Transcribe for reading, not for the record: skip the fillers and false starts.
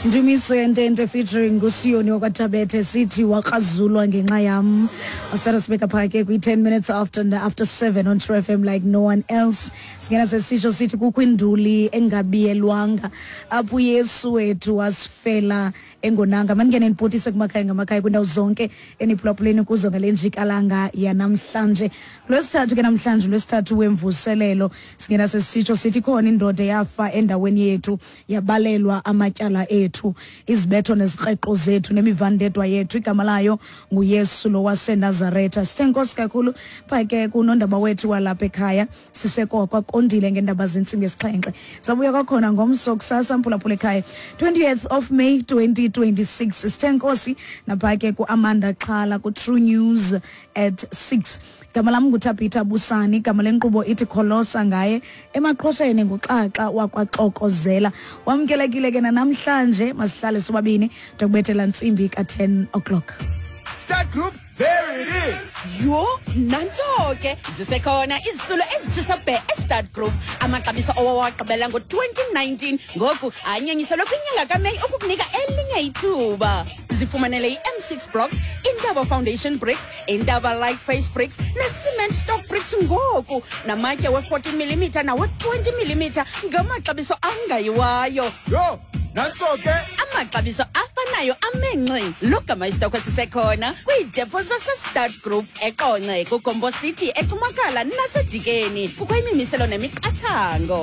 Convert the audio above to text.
Ndumiso yentente featuring ngusiyoni wakwaThabethe sithi wakrazulwa ngenxa yam. Asara sibeka phaa ke kwi-10 minutes after 7 on True FM like no one else. Singena sesisho sithi kukho induli engabiyelwanga apho uYesu wethu wasifela engonanga. Maningene nibhotise kumakhaya ngamakhaya kwiindawo zonke eniphulaphuleni kuzo ngale njikalanga yanamhlanje. Lwesithathu ke namhlanje, lwesithathu wemvuselelo, singena sesitsho sithi ikhona indoda eyafa endaweni yethu, yabalelwa amatyala ethu, izibetho nezikreqo zethu nemivandedwa yethu. Igama layo nguYesu lo waseNazaretha. Sithe nkosi kakhulu phaa ke kunondaba wethu walapha ekhaya siseko kwakondile ngeendaba zentsimbi yesixhenxe. Sabuya kwakhona ngomso kusasa, mphulaphula ekhaya, 20th of May 2026. Sithe nkosi naphaa ke kuAmanda Xhala ku-True News at 6. Igama lam nguThabitha Busani, igama lenkqubo ithi Kholosa ngaye. Emaqhosheni nguXaxa wakwaXokozela. Wamkelekile ke nanamhlanje, masihlale sobabini ndokubethela ntsimbi ka-10 o'clock. Start Group, there it is. Yho, nantso ke, zisekhona izitulo ezitshisa bhe eStart Group. Amaxabiso owawagqibela ngo-2019 ngoku anyanyiselwe kwinyanga kaMeyi ukukunika elinye ithuba. Zifumanele i-M6 blocks, Intaba foundation bricks, Intaba light face bricks ne-cement stock bricks ngoku, namatye we-14 mm nawe-20 mm ngamaxabiso angayiwayo. Yho, nantso ke. Amaxabiso afanayo amenxi logama isitokhwe sisekhona kwiidepo zaseStart Group eQonce, kuGombo City, eCumakala naseDikeni. Kukho imimiselo nemiqathango.